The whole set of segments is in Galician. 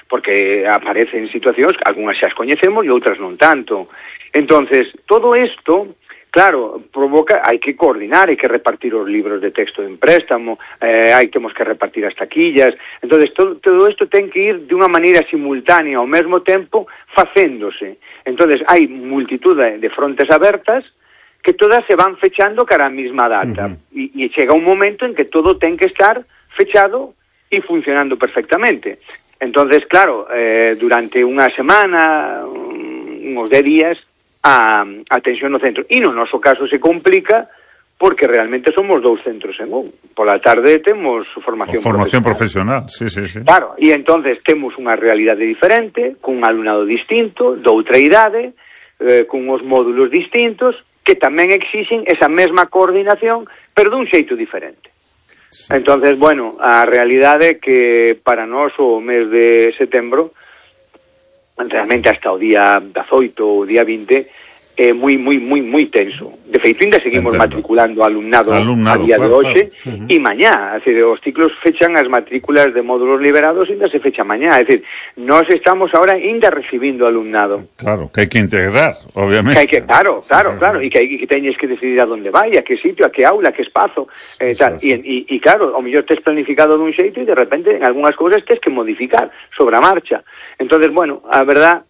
porque aparecen situacións, algunhas xa as coñecemos e outras non tanto. Entonces, todo isto, claro, provoca, hai que coordinar, hai que repartir os libros de texto en préstamo, temos que repartir as taquillas. Entonces, todo isto ten que ir de unha maneira simultánea ao mesmo tempo facéndose. Entonces, hai multitud de frontes abertas que todas se van fechando cara á mesma data. E chega un momento en que todo ten que estar fechado e funcionando perfectamente. Entonces, claro, durante unha semana, uns 10 días, a atención no centro. E no noso caso se complica porque realmente somos 2 centros en un. Pola tarde temos formación profesional. Sí. Claro, e entonces temos unha realidade diferente, cun alumnado distinto, doutra idade, con os módulos distintos, que tamén exixen esa mesma coordinación, pero dun xeito diferente. Sí. Entonces, bueno, a realidade é que para nós o mes de setembro, realmente hasta o día 18 ou o día 20 é moi tenso. De feito, ainda seguimos matriculando alumnado a día de hoxe e mañá, os ciclos fechan as matrículas de módulos liberados ainda se fecha mañá, é dicir, nós estamos ahora ainda recibindo alumnado. Claro, que hai que integrar, obviamente. Claro, e que teñes que decidir a donde vai, a que sitio, a que aula, a que espazo, tal. E claro, ao mellor tes planificado dun xeito e de repente en algunhas cousas tes que modificar sobre a marcha. Entonces, bueno, a verdad,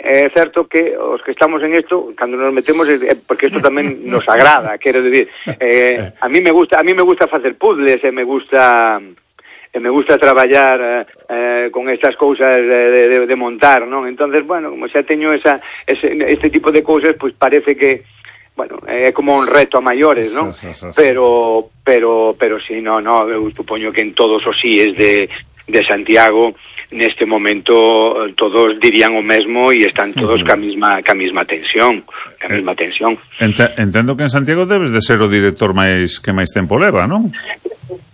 é certo que os que estamos en isto, cando nos metemos, porque isto tamén nos agrada, quero dicir, a mí me gusta facer puzzles, me gusta traballar con estas cousas de montar, non? Entonces, bueno, como xa teño este tipo de cousas, pois parece que, bueno, é como un reto a maiores, non? Sí. Pero si, non, eu supoño que en todos os síes de Santiago neste momento todos dirían o mesmo e están todos ca mesma tensión, Entendo que en Santiago debes de ser o director que máis tempo leva, non?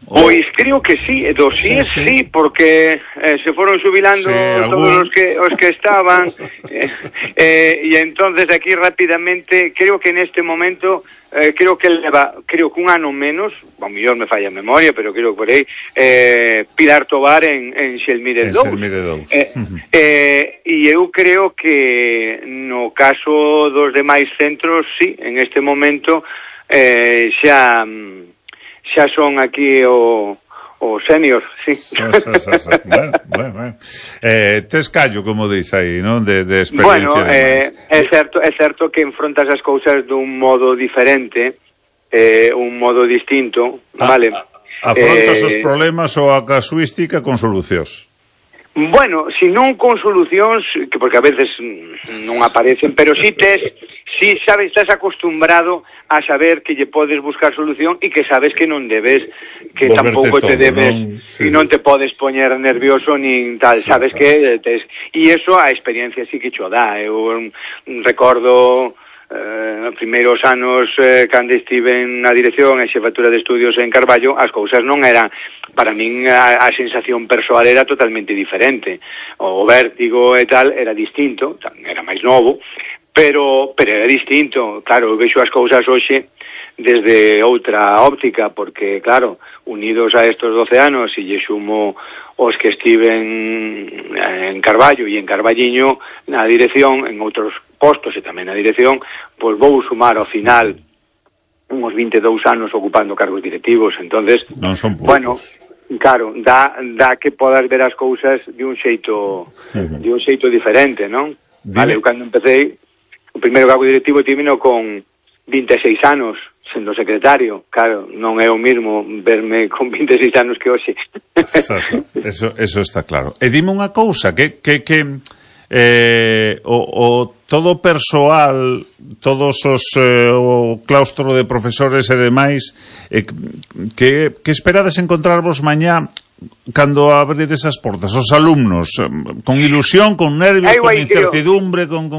Pois creo que sí, sí, porque se foron xubilando todos os que estaban e entonces aquí rapidamente, creo que neste momento creo que un ano menos, ao mellor me falla a memoria, pero creo que por aí Pilar Tobar en Xelmire 2. E eu creo que no caso dos demais centros, sí, en este momento xa son aquí o senior, sí. Bueno. Tes callo, como dis aí, non? De experiencia. Bueno, é certo que enfrontas as cousas dun modo diferente, un modo distinto, vale? Afrontas os problemas ou a casuística con solucións. Bueno, si non con solucións, porque a veces non aparecen, pero si sabes, estás acostumbrado a saber que lle podes buscar solución e que sabes que non debes, que tampouco te debes, e non te podes poñer nervioso nin tal, sabes que e eso a experiencia sí que cho dá. Eu recordo nos primeiros anos cando estive na dirección e xefatura de estudios en Carballo, as cousas non eran, para min a sensación persoal era totalmente diferente, o vértigo e tal era distinto, era máis novo, pero era distinto. Claro, eu vexo as cousas hoxe desde outra óptica, porque claro, unidos a estos 12 anos e lle xumo os que estiven en Carballo e en Carballiño na dirección, en outros postos e tamén na dirección, pois vou sumar ao final uns 22 anos ocupando cargos directivos. Entonces, non son poucos. Bueno, claro, dá que podas ver as cousas de un xeito diferente, non? Vale, eu cando empecé o primeiro cargo directivo tivino con 26 anos sendo secretario, claro, non é o mismo verme con 26 anos que hoxe. Eso está claro. E dime unha cousa, que todo persoal, todos os o claustro de profesores e demais, que esperades encontrarvos mañá cando abrides as portas? Os alumnos, con ilusión, con nervios, con incertidumbre, con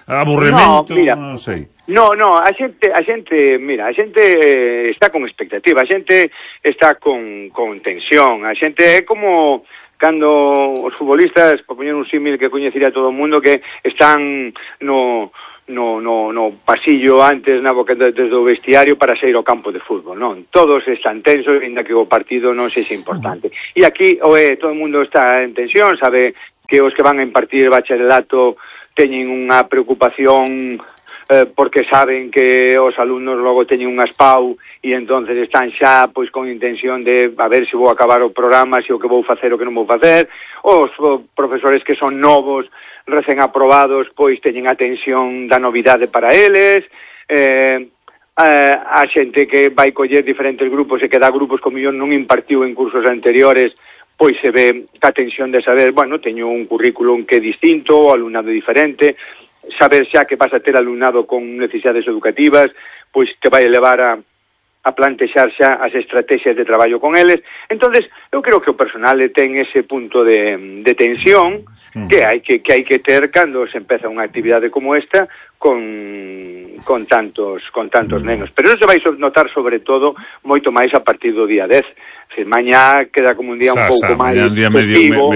aburrimento, non sei. No, a xente está con expectativa, a xente está con tensión, a xente é como cando os futbolistas, por poñer un símil que coñecería todo o mundo, que están no pasillo antes na boca desde o vestiario para sair ao campo de fútbol, non? Todos están tensos, ainda que o partido non sexa importante. E aquí todo o mundo está en tensión, sabe que os que van a impartir bacharelato teñen unha preocupación porque saben que os alumnos logo teñen unhas PAU e entonces están xa pois con intención de a ver se vou acabar o programa, se o que vou facer o que non vou facer. Os profesores que son novos, recén aprobados, pois teñen atención da novidade para eles. A xente que vai coller diferentes grupos e que dá grupos como yo non impartiu en cursos anteriores, pois se ve a tensión de saber, bueno, teño un currículum que é distinto, o alumnado diferente, saber xa que vas a ter alumnado con necesidades educativas, pois te vai levar a plantexar xa as estrategias de traballo con eles. Entonces, eu creo que o personal ten ese punto de tensión que hai que ter cando se empeza unha actividade como esta con tantos nenos. Pero eso se vai notar sobre todo moito máis a partir do día 10. Se mañá queda como un día un pouco máis festivo.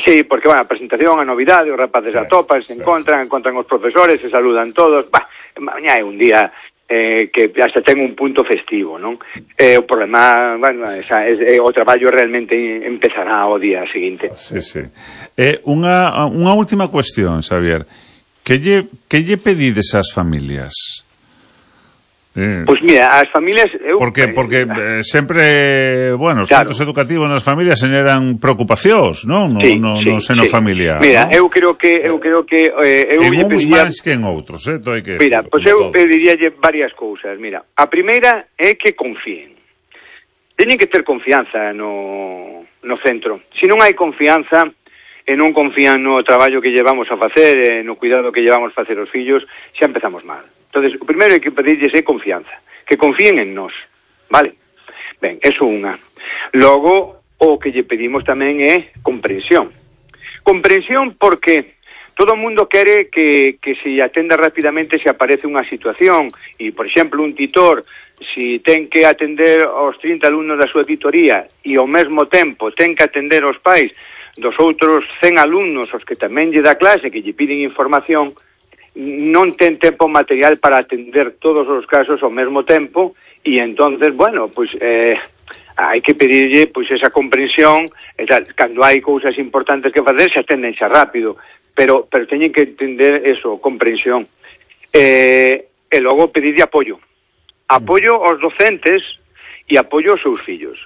Sí, porque, bueno, a presentación, a novidade, os rapaces atopan, se encontran os profesores, se saludan todos. Mañá é un día que hasta ten un punto festivo, non? O problema, bueno, o traballo realmente empezará o día seguinte. Sí. Unha última cuestión, Xavier. Que lle pedides ás familias? Pois mira, as familias... Porque sempre, bueno, os centros educativos nas familias generan preocupacións, non? No seno familiar. Mira, ¿no? eu creo que en uns máis que en outros, Mira, pois eu pediríalle varias cousas. Mira, a primeira é que confíen. Teñen que ter confianza no centro. Se non hai confianza e non confían no traballo que llevamos a facer, no cuidado que llevamos a facer os fillos, xa empezamos mal. Entonces, o primeiro que pedirlles é confianza, que confíen en nós, vale? Ben, eso unha. Logo, o que lle pedimos tamén é comprensión. Comprensión porque todo o mundo quere que se atenda rapidamente se aparece unha situación e, por exemplo, un titor, si ten que atender aos 30 alumnos da súa titoría e ao mesmo tempo ten que atender aos pais dos outros 100 alumnos aos que tamén lle dá clase, que lle piden información, non ten tempo material para atender todos os casos ao mesmo tempo e entonces, bueno, pois hai que pedirlle pois esa comprensión e tal. Cando hai cousas importantes que facer se atenden xa rápido, pero teñen que entender eso, comprensión. E logo pedirlle apoio aos docentes e apoio aos seus fillos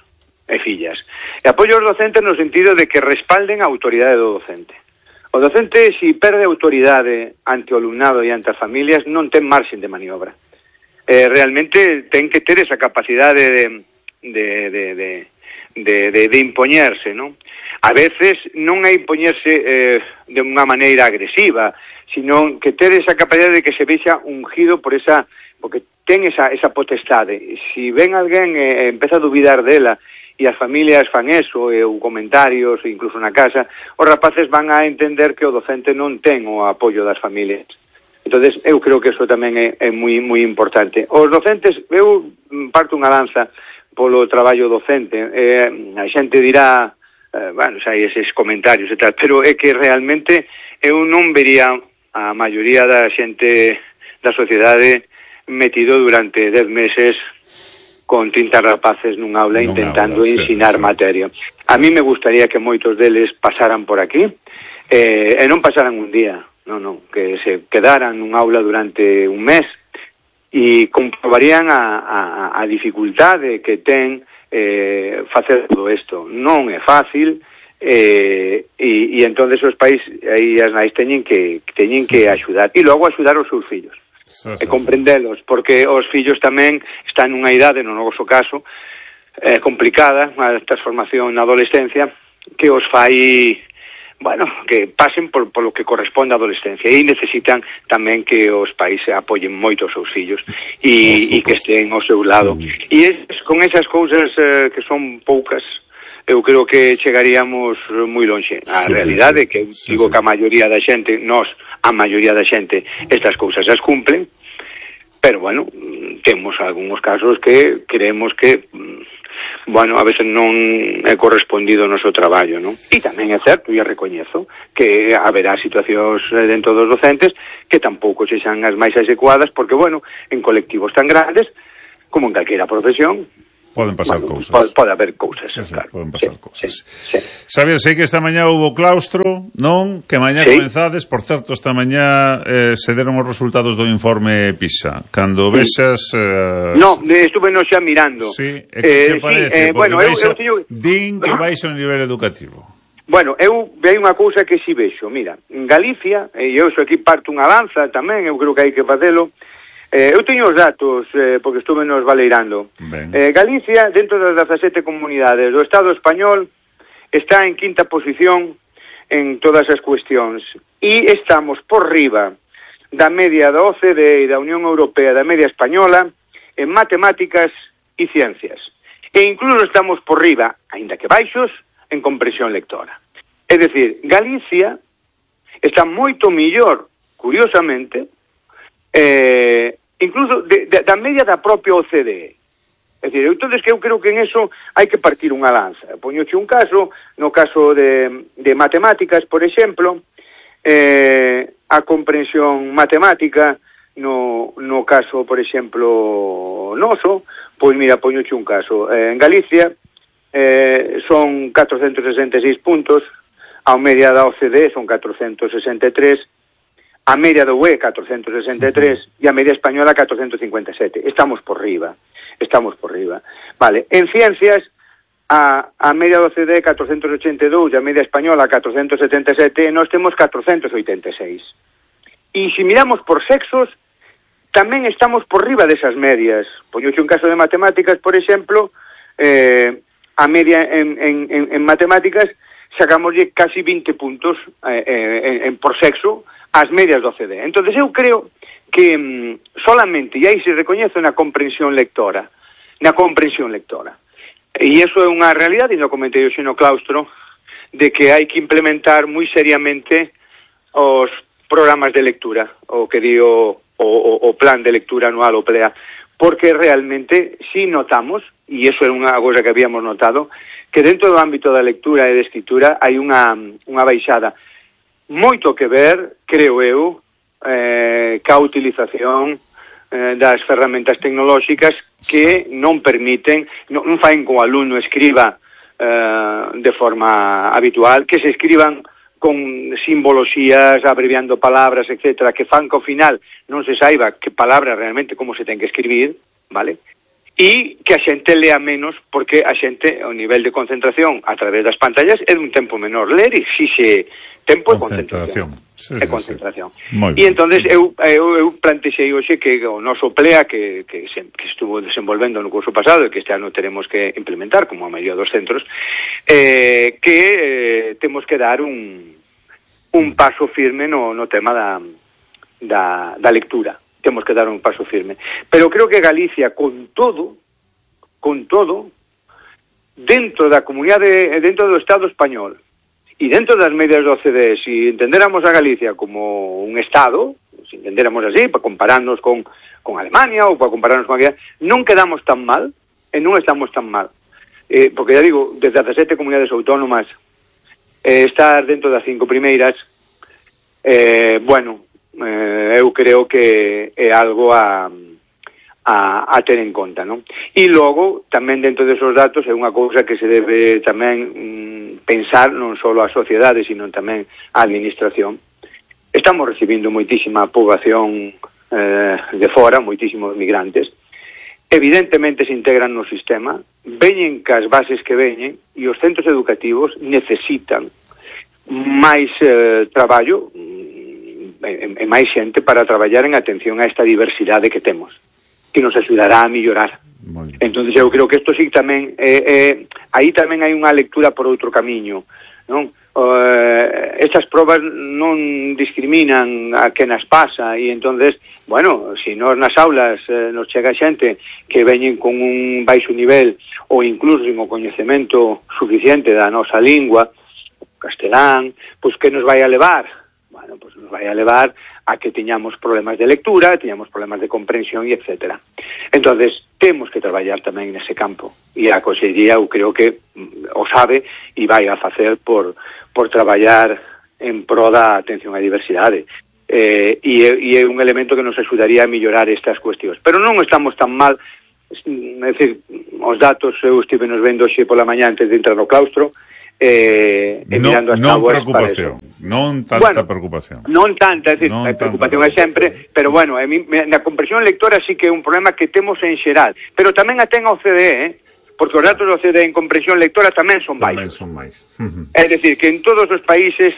e fillas. E apoio aos docentes no sentido de que respalden a autoridade do docente. O docente, se perde autoridade ante o alumnado e ante as familias, non ten marxen de maniobra. Realmente ten que ter esa capacidade de impoñerse, non? A veces non é impoñerse de unha maneira agresiva, sino que ter esa capacidade de que se vexa ungido porque ten esa potestade. Se ven alguén e empeza a dubidar dela, e as familias fan eso, ou comentarios, incluso na casa, os rapaces van a entender que o docente non ten o apoio das familias. Entonces, eu creo que eso tamén é moi importante. Os docentes, eu parto unha lanza polo traballo docente. A xente dirá, bueno, xa hai eses comentarios e tal, pero é que realmente eu non vería a maioría da xente da sociedade metido durante 10 meses con 30 rapaces nun aula intentando ensinar materia. A mí me gustaría que moitos deles pasaran por aquí e non pasaran un día, non, que se quedaran nun aula durante un mes e comprobarían a dificultade que ten facer todo isto. Non é fácil e entonces os pais e as nais teñen que axudar e logo axudar os seus fillos. E comprendelos, porque os fillos tamén están nunha idade, no noso caso, complicada, a transformación na adolescencia, que os fai, bueno, que pasen por lo que corresponde á adolescencia e necesitan tamén que os pais apoyen moito os seus fillos e que estén ao seu lado. E con esas cousas que son poucas, eu creo que chegaríamos moi lonxe. A realidade é que digo que a maioría da xente, a maioría da xente, estas cousas as cumplen, pero, bueno, temos algúns casos que creemos que, bueno, a veces non é correspondido o noso traballo, non? E tamén é certo, e recoñezo, que haberá situacións dentro dos docentes que tampouco sexan as máis adecuadas, porque, bueno, en colectivos tan grandes, como en calquera profesión, Poden pasar cousas. Pode haber cousas, sí, claro. Poden pasar cousas. Sí. Sabes, sei que esta mañá houve claustro, non? Que mañá comenzades, por certo, esta mañá se deron os resultados do informe PISA. Cando vexas... No, estuve no xa mirando. Sí, e que che parece? Bueno, eu din que baixa o nivel educativo. Bueno, eu vei unha cousa que si vexo. Mira, en Galicia, e eu sou aquí parto unha lanza tamén, eu creo que hai que facelo. Eu teño os datos, porque estuve nos valeirando. Galicia, dentro das 17 comunidades do Estado español, está en quinta posición en todas as cuestións. E estamos por riba da media da OCDE e da Unión Europea, da media española, en matemáticas e ciencias. E incluso estamos por riba, aínda que baixos, en comprensión lectora. É dicir, Galicia está moito millor, curiosamente, incluso da media da propia OCDE. É dicir, entonces que eu creo que en eso hai que partir unha lanza. Poñoche un caso, no caso de matemáticas, por exemplo, a comprensión matemática no caso, por exemplo, noso, pois mira, poñoche un caso. En Galicia son 466 puntos, a media da OCDE son 463, a media da UE 463 e a media española 457. Estamos por riba. Vale, en ciencias a media da OCDE 482 e a media española 477 e nós temos 486. E se miramos por sexos, tamén estamos por riba desas medias. Poñoche un caso de matemáticas, por exemplo, a media en matemáticas sacamoslle casi 20 puntos por sexo ás medias do OCDE. Entonces eu creo que solamente, e aí se recoñece na comprensión lectora. E iso é unha realidade, e non comentei hoxe no claustro, de que hai que implementar moi seriamente os programas de lectura, o que di o plan de lectura anual, o PLEA, porque realmente si notamos, e iso é unha cosa que habíamos notado, que dentro do ámbito da lectura e da escritura hai unha baixada. Moito que ver, creo eu, ca utilización das ferramentas tecnolóxicas que non permiten, non faen que o alumno escriba de forma habitual, que se escriban con simboloxías, abreviando palabras, etcétera, que fan que ao final non se saiba que palabra realmente como se ten que escribir, vale? E que a xente lea menos, porque a xente, o nivel de concentración a través das pantallas é dun tempo menor. Ler exixe tempo e concentración. Sí. E entonces eu plantexei hoxe que o noso PLEA que estuvo desenvolvendo no curso pasado e que este ano teremos que implementar como a maioría dos centros, que temos que dar un paso firme no tema da lectura. Temos que dar un paso firme. Pero creo que Galicia, con todo, dentro da comunidade, dentro do Estado español, e dentro das medias do OCDE, se entendéramos a Galicia como un Estado, se entendéramos así, para compararnos con Alemania ou para compararnos con Galicia, non quedamos tan mal, e non estamos tan mal. Porque, ya digo, desde 17 comunidades autónomas, estar dentro das 5 primeiras, eu creo que é algo a ter en conta, non? E logo, tamén dentro desos datos é unha cousa que se debe tamén pensar non só a sociedade, sino tamén a administración. Estamos recibindo moitísima poboación de fora, moitísimos migrantes. Evidentemente se integran no sistema, veñen cas bases que veñen e os centros educativos necesitan máis traballo e máis xente para traballar en atención a esta diversidade que temos, que nos axudará a millorar. Entón, eu creo que isto sí tamén aí tamén hai unha lectura por outro camiño, non? Estas probas non discriminan a que nas pasa e entonces, bueno, se nos nas aulas nos chega xente que veñen con un baixo nivel ou incluso sin o coñecemento suficiente da nosa lingua, castelán, pois que nos vai a levar? Bueno, pues nos vai a levar a que teñamos problemas de lectura, teñamos problemas de comprensión e etcétera. Entonces, temos que traballar tamén nese campo. E a Consellería, eu creo que o sabe e vai a facer por traballar en pro da atención á diversidade. E é un elemento que nos axudaría a mellorar estas cuestións. Pero non estamos tan mal é dicir, os datos eu estive nos vendo hoxe pola mañá antes de entrar no claustro, mirando as táboas para eso. Non tanta preocupación. Non tanta, é dicir, a preocupación é sempre, pero bueno, na comprensión lectora sí que é un problema que temos en xeral, pero tamén a ten a OCDE, porque os datos da OCDE en comprensión lectora tamén son baixos. É dicir, que en todos os países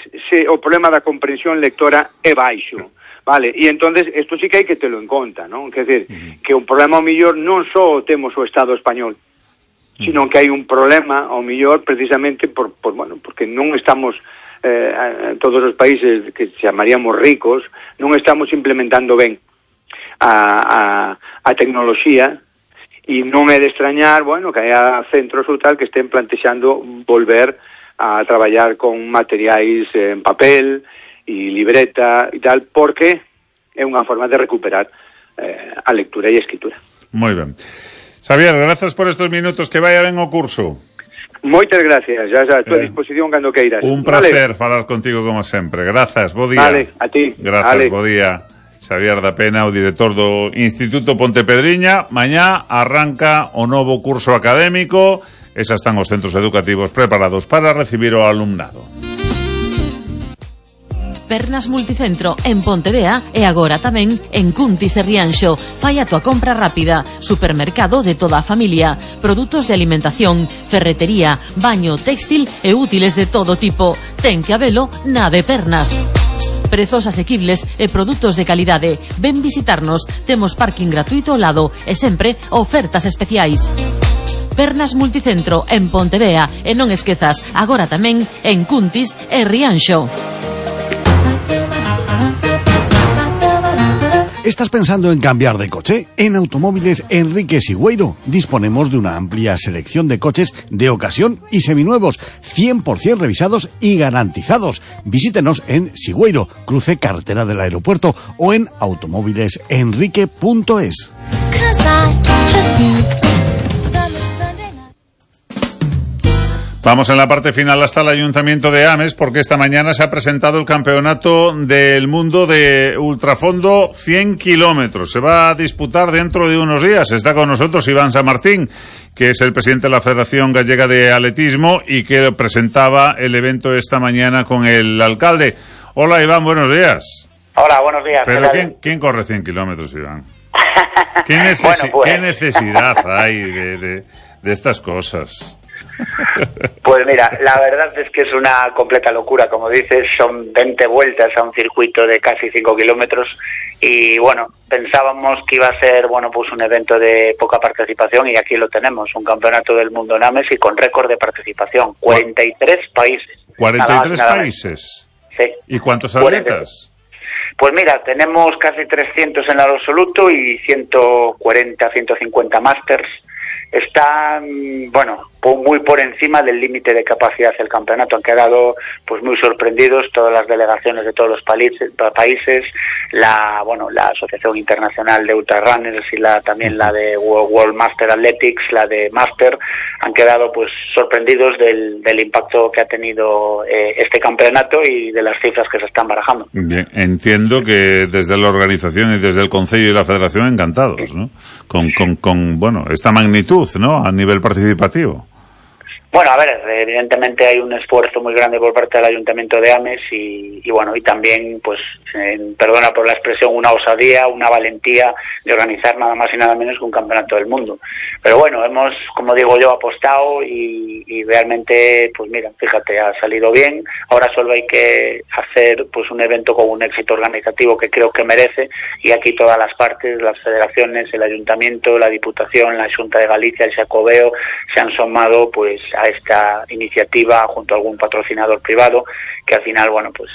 o problema da comprensión lectora é baixo, vale? E entonces isto sí que hai que telo en conta, non? Quer dizer, que un problema ao millor non só temos o Estado español, sino que hai un problema ao millor precisamente porque non estamos todos os países que chamaríamos ricos, non estamos implementando ben a tecnoloxía. E non é de extrañar, que haya centros ou tal que estén plantexando volver a traballar con materiais en papel e libreta e tal, porque é unha forma de recuperar a lectura e a escritura. Moi ben. Xavier, grazas por estos minutos, que vaya ben o curso. Moitas gracias, já a tua disposición cando queiras. Un placer falar contigo como sempre. Grazas, bo día. Vale, a ti. Grazas, bo día. Xavier da Pena, o director do Instituto Pontepedriña. Mañá arranca o novo curso académico e xa están os centros educativos preparados para recibir o alumnado. Pernas Multicentro en Pontevea e agora tamén en Cuntis e Rianxo. Fai a tua compra rápida. Supermercado de toda a familia. Produtos de alimentación, ferretería, baño, téxtil e útiles de todo tipo. Ten que habelo na de Pernas. Prezos asequibles e produtos de calidade. Ven visitarnos. Temos parking gratuito ao lado e sempre ofertas especiais. Pernas Multicentro en Pontevea e non esquezas, agora tamén en Cuntis e Rianxo. ¿Estás pensando en cambiar de coche? En Automóviles Enrique Sigüeiro disponemos de una amplia selección de coches de ocasión y seminuevos, 100% revisados y garantizados. Visítenos en Sigüeiro, cruce carretera del aeropuerto, o en automóvilesenrique.es. Vamos en la parte final hasta el Ayuntamiento de Ames, porque esta mañana se ha presentado el Campeonato del Mundo de Ultrafondo 100 kilómetros. Se va a disputar dentro de unos días. Está con nosotros Iván San Martín, que es el presidente de la Federación Gallega de Atletismo y que presentaba el evento esta mañana con el alcalde. Hola, Iván, buenos días. Hola, buenos días. Pero ¿quién corre 100 kilómetros, Iván? ¿Qué necesidad hay de estas cosas? Pues mira, la verdad es que es una completa locura, como dices, son 20 vueltas a un circuito de casi 5 kilómetros y bueno, pensábamos que iba a ser pues un evento de poca participación y aquí lo tenemos, un campeonato del mundo en Ames y con récord de participación, 43 países. ¿43 países? Sí. ¿Y cuántos atletas? Pues mira, tenemos casi 300 en el absoluto y 140, 150 másters. Están, muy por encima del límite de capacidad del campeonato. Han quedado pues muy sorprendidos todas las delegaciones de todos los países, la Asociación Internacional de Ultrarunners y también la de World Master Athletics, la de Master, han quedado pues sorprendidos del impacto que ha tenido este campeonato y de las cifras que se están barajando. Bien, entiendo que desde la organización y desde el Concello y la Federación encantados, ¿no? Con esta magnitud, ¿no? A nivel participativo. Bueno, a ver, evidentemente hay un esfuerzo muy grande por parte del Ayuntamiento de Ames y también, pues, perdona por la expresión, una osadía, una valentía de organizar nada más y nada menos que un campeonato del mundo. Pero bueno, hemos, como digo yo, apostado y realmente, pues mira, fíjate, ha salido bien. Ahora solo hay que hacer pues un evento con un éxito organizativo que creo que merece y aquí todas las partes, las federaciones, el Ayuntamiento, la Diputación, la Xunta de Galicia, el Xacobeo, se han sumado pues a esta iniciativa junto a algún patrocinador privado que al final, pues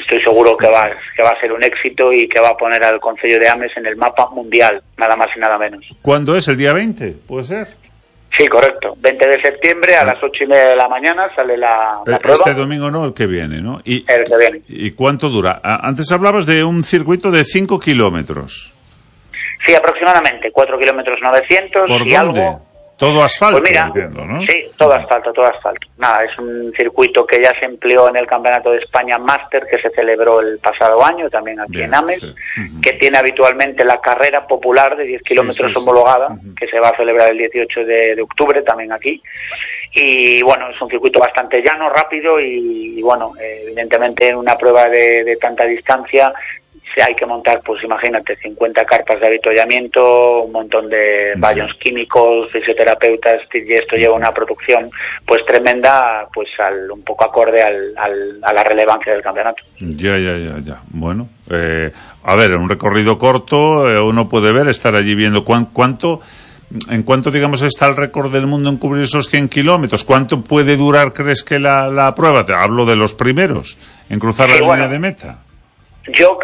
estoy seguro que va a ser un éxito y que va a poner al Concello de Ames en el mapa mundial, nada más y nada menos. ¿Cuándo es? ¿El día 20? ¿Puede ser? Sí, correcto. 20 de septiembre a las 8:30 de la mañana sale la prueba. Este domingo no, el que viene, ¿no? El que viene. ¿Y cuánto dura? Antes hablabas de un circuito de 5 kilómetros. Sí, aproximadamente 4 kilómetros 900. ¿Por y dónde? Algo. Todo asfalto, pues mira, entiendo, ¿no? Sí, todo asfalto. Nada, es un circuito que ya se empleó en el Campeonato de España Máster, que se celebró el pasado año, también aquí en Ames, que tiene habitualmente la carrera popular de 10 kilómetros homologada, que se va a celebrar el 18 de octubre, también aquí. Y bueno, es un circuito bastante llano, rápido y bueno, evidentemente en una prueba de tanta distancia hay que montar, pues imagínate, 50 carpas de avituallamiento, un montón de baños químicos, fisioterapeutas, y esto lleva una producción pues tremenda, pues un poco acorde a la relevancia del campeonato. Ya. Bueno, a ver, un recorrido corto, uno puede estar allí viendo en cuánto, digamos, está el récord del mundo en cubrir esos 100 kilómetros. ¿Cuánto puede durar, crees que la prueba? Te hablo de los primeros, en cruzar la línea de meta.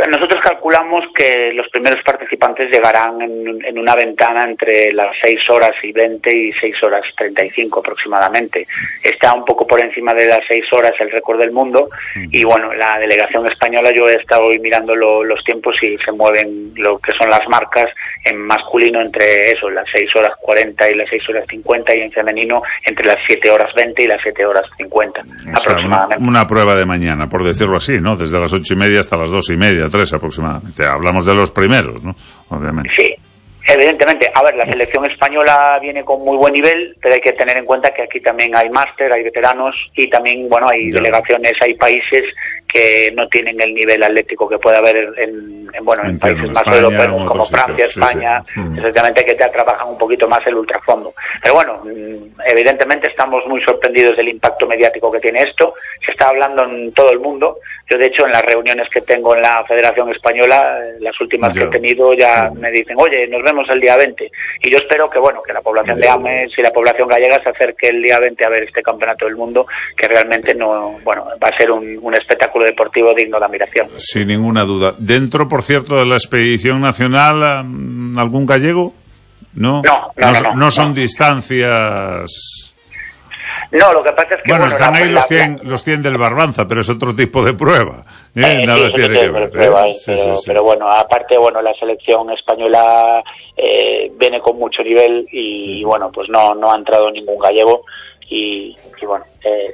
Nosotros calculamos que los primeros participantes llegarán en una ventana entre las 6 horas y 20 y 6 horas 35 aproximadamente. Está un poco por encima de las 6 horas el récord del mundo y bueno, la delegación española, yo he estado hoy mirando los tiempos y se mueven lo que son las marcas en masculino entre eso, las 6 horas 40 y las 6 horas 50 y en femenino entre las 7 horas 20 y las 7 horas 50 aproximadamente. Una prueba de mañana, por decirlo así, ¿no? Desde las 8:30 hasta las 2:30, 3 aproximadamente. Hablamos de los primeros, ¿no? Obviamente. Sí, evidentemente. A ver, la selección española viene con muy buen nivel, pero hay que tener en cuenta que aquí también hay máster, hay veteranos y también, bueno, hay delegaciones, hay países que no tienen el nivel atlético que puede haber en países más europeos como Francia, España, exactamente, que ya trabajan un poquito más el ultrafondo. Pero bueno, evidentemente estamos muy sorprendidos del impacto mediático que tiene esto. Se está hablando en todo el mundo. Yo, de hecho, en las reuniones que tengo en la Federación Española, las últimas que he tenido, ya me dicen, oye, nos vemos el día 20. Y yo espero que, bueno, que la población de Ames y la población gallega se acerque el día 20 a ver este Campeonato del Mundo, que realmente va a ser un espectáculo deportivo digno de admiración. Sin ninguna duda. Dentro, por cierto, de la expedición nacional, ¿algún gallego? No son distancias. No, lo que pasa es que... Bueno, están ahí los 100 del Barbanza, pero es otro tipo de prueba. Nada tiene que ver. Pero bueno, aparte, la selección española viene con mucho nivel y bueno, pues no ha entrado ningún gallego y bueno,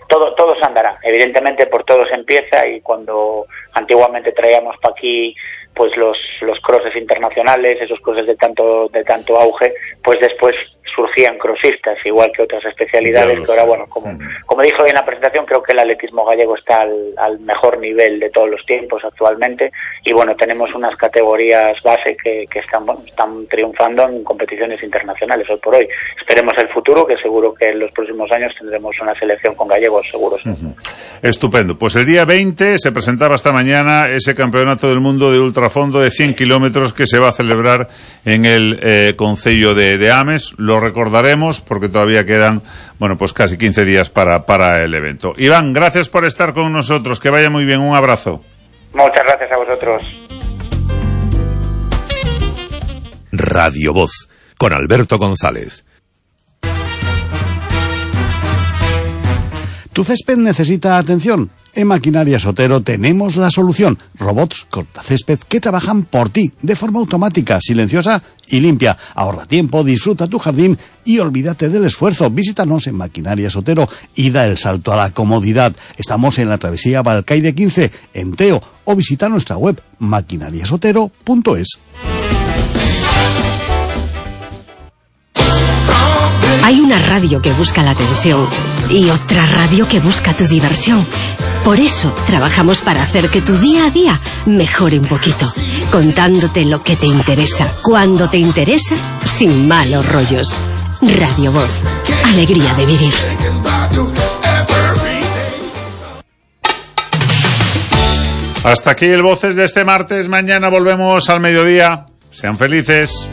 todo se andará. Evidentemente por todo se empieza y cuando antiguamente traíamos para aquí pues los crosses internacionales, esos crosses de tanto auge, pues después surgían crossistas, igual que otras especialidades, que ahora, bueno, como dijo en la presentación, creo que el atletismo gallego está al mejor nivel de todos los tiempos actualmente, y bueno, tenemos unas categorías base que están triunfando en competiciones internacionales hoy por hoy. Esperemos el futuro, que seguro que en los próximos años tendremos una selección con gallegos seguros. Estupendo. Pues el día 20 se presentaba esta mañana ese Campeonato del Mundo de ultrafondo de 100 kilómetros que se va a celebrar en el concello de Ames. Lo recordaremos porque todavía quedan, pues casi 15 días para el evento. Iván, gracias por estar con nosotros. Que vaya muy bien. Un abrazo. Muchas gracias a vosotros. Radio Voz, con Alberto González. ¿Tu césped necesita atención? En Maquinarias Otero tenemos la solución. Robots cortacésped que trabajan por ti, de forma automática, silenciosa y limpia. Ahorra tiempo, disfruta tu jardín y olvídate del esfuerzo. Visítanos en Maquinarias Otero y da el salto a la comodidad. Estamos en la travesía Balcaide 15, en Teo, o visita nuestra web maquinariasotero.es. Hay una radio que busca la atención y otra radio que busca tu diversión. Por eso trabajamos para hacer que tu día a día mejore un poquito, contándote lo que te interesa, cuando te interesa, sin malos rollos. Radio Voz, alegría de vivir. Hasta aquí el Voces de este martes. Mañana volvemos al mediodía. Sean felices.